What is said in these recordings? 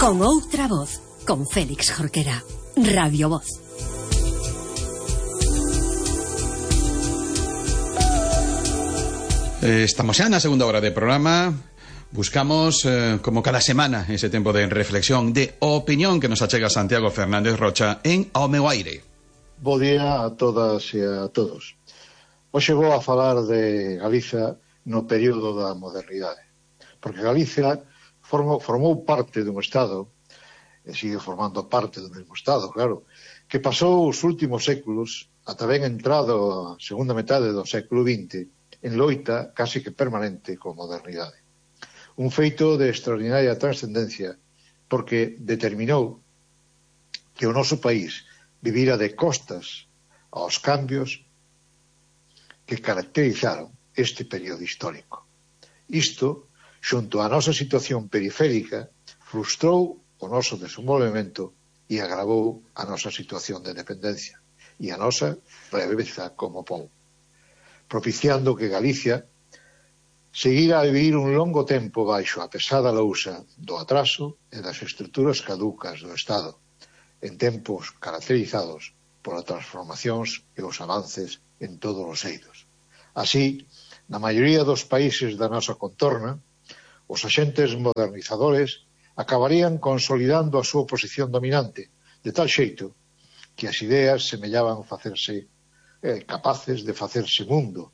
Con outra voz, con Félix Jorquera. Radio Voz. Estamos xa na segunda hora de programa. Buscamos, como cada semana, ese tempo de reflexión, de opinión que nos achega Santiago Fernández Rocha en Ao meu aire. Bo día a todas e a todos. Hoxe vou a falar de Galiza no período da modernidade. Porque Galicia formou parte dun Estado, e sigue formando parte do mesmo Estado, claro, que pasou os últimos séculos, ata ben entrado a segunda metade do século XX, en loita casi que permanente con modernidade. Un feito de extraordinaria trascendencia porque determinou que o noso país vivira de costas aos cambios que caracterizaron este período histórico. Isto, xunto á nosa situación periférica, frustrou o noso desenvolvemento e agravou a nosa situación de dependencia e a nosa breveza como pobo, propiciando que Galicia seguira a vivir un longo tempo baixo a pesada lousa do atraso e das estruturas caducas do Estado, en tempos caracterizados polas transformacións e os avances en todos os eidos. Así, na maioría dos países da nosa contorna, os axentes modernizadores acabarían consolidando a súa posición dominante, de tal xeito que as ideas semellaban facerse capaces de facerse mundo,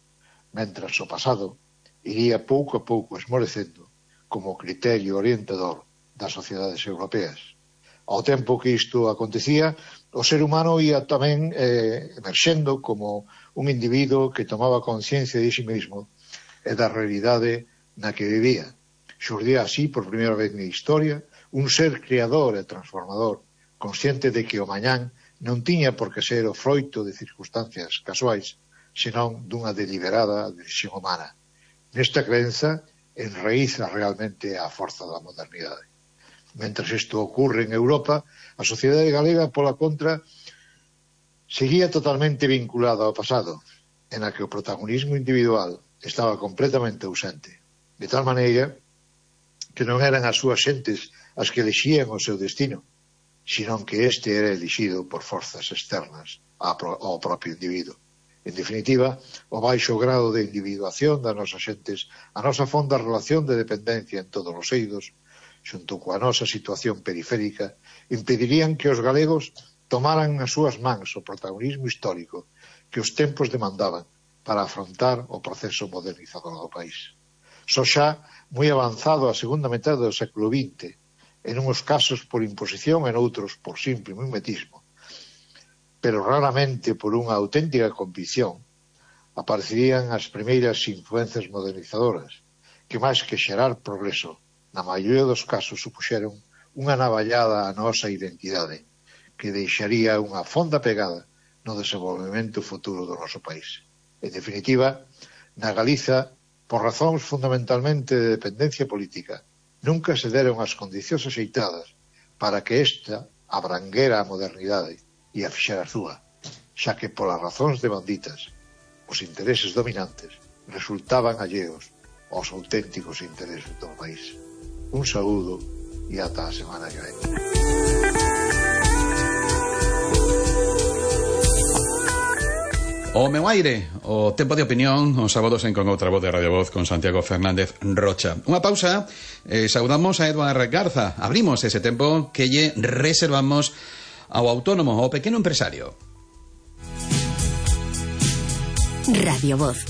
mentras o pasado iría pouco a pouco esmorecendo como criterio orientador das sociedades europeas. Ao tempo que isto acontecía, o ser humano ia tamén emerxendo como un individuo que tomaba conciencia de si mesmo e da realidade na que vivía. Xurdía así, por primeira vez na historia, un ser creador e transformador, consciente de que o mañán non tiña por que ser o froito de circunstancias casuais, senón dunha deliberada decisión humana. Nesta crenza enraíza realmente a forza da modernidade. Mentres isto ocorre en Europa, a sociedade galega, pola contra, seguía totalmente vinculada ao pasado, en a que o protagonismo individual estaba completamente ausente, de tal maneira que non eran as súas xentes as que elixían o seu destino, senón que este era elixido por forzas externas ao propio individuo. En definitiva, o baixo grado de individuación das nosas xentes, a nosa fonda relación de dependencia en todos os eidos, xunto coa nosa situación periférica, impedirían que os galegos tomaran nas súas mans o protagonismo histórico que os tempos demandaban para afrontar o proceso modernizador do país. Só xa moi avanzado a segunda metade do século XX, en uns casos por imposición e noutros por simple mimetismo, pero raramente por unha auténtica convicción, aparecerían as primeiras influencias modernizadoras, que máis que xerar progreso, na maioría dos casos supuxeron unha navallada á nosa identidade, que deixaría unha fonda pegada no desenvolvemento futuro do noso país. En definitiva, na Galiza, por razóns fundamentalmente de dependencia política, nunca se deron as condicións axeitadas para que esta abranguera a modernidade e a fixera súa, xa que polas razóns devanditas, os intereses dominantes resultaban alleos aos auténticos intereses do país. Un saúdo e ata a semana que ven. O meu aire, o tempo de opinión, os sábados en Con outra voz de Radio Voz con Santiago Fernández Rocha. Unha pausa, saudamos a Eduardo Garza. Abrimos ese tempo que lle reservamos ao autónomo, ao pequeno empresario. Radio Voz.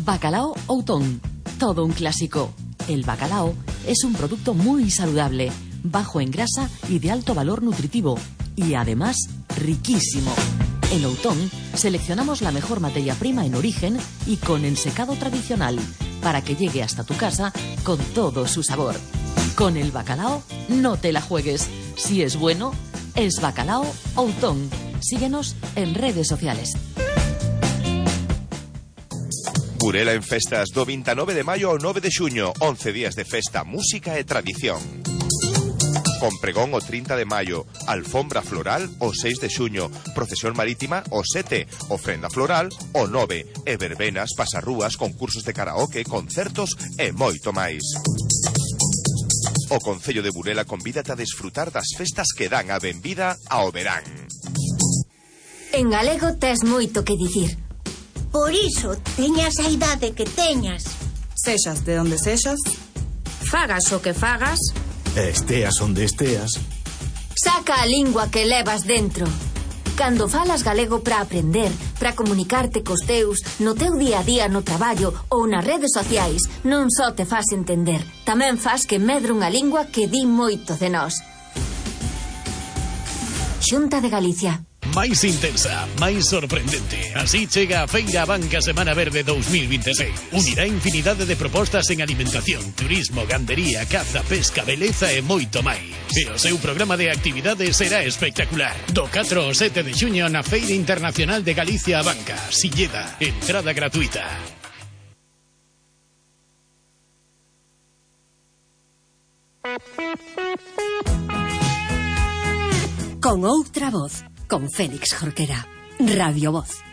Bacalao Outón, todo un clásico. El bacalao es un producto muy saludable, bajo en grasa y de alto valor nutritivo, y además riquísimo. En Outón seleccionamos la mejor materia prima en origen y con ensecado tradicional, para que llegue hasta tu casa con todo su sabor. Con el bacalao no te la juegues. Si es bueno, es Bacalao Outón. Síguenos en redes sociales. Burela en festas do 29 de maio ao 9 de xuño, 11 días de festa, música e tradición. con pregón o 30 de maio, alfombra floral o 6 de xuño, procesión marítima o 7, ofrenda floral o 9, e verbenas, pasarrúas, concursos de karaoke, concertos e moito máis. O Concello de Burela convídate a desfrutar das festas que dan a benvida ao verán. En galego tes moito que dicir. Por iso, teñas a idade que teñas. Sexas de onde sexas, Fagas o que fagas, esteas onde esteas, saca a lingua que levas dentro. Cando falas galego para aprender, para comunicarte cos teus, no teu día a día no traballo ou nas redes sociais, non só te fas entender, tamén fas que medre unha lingua que di moito de nós. Xunta de Galicia. Máis intensa, máis sorprendente. Así chega a Feira Banca Semana Verde 2026. Unirá infinidade de propostas en alimentación, turismo, gandería, caza, pesca, beleza e moito máis. E o seu programa de actividades será espectacular. Do 4 ao 7 de xuño na Feira Internacional de Galicia a Banca, Silleda, entrada gratuita. Con outra voz, con Félix Jorquera. Radio Voz.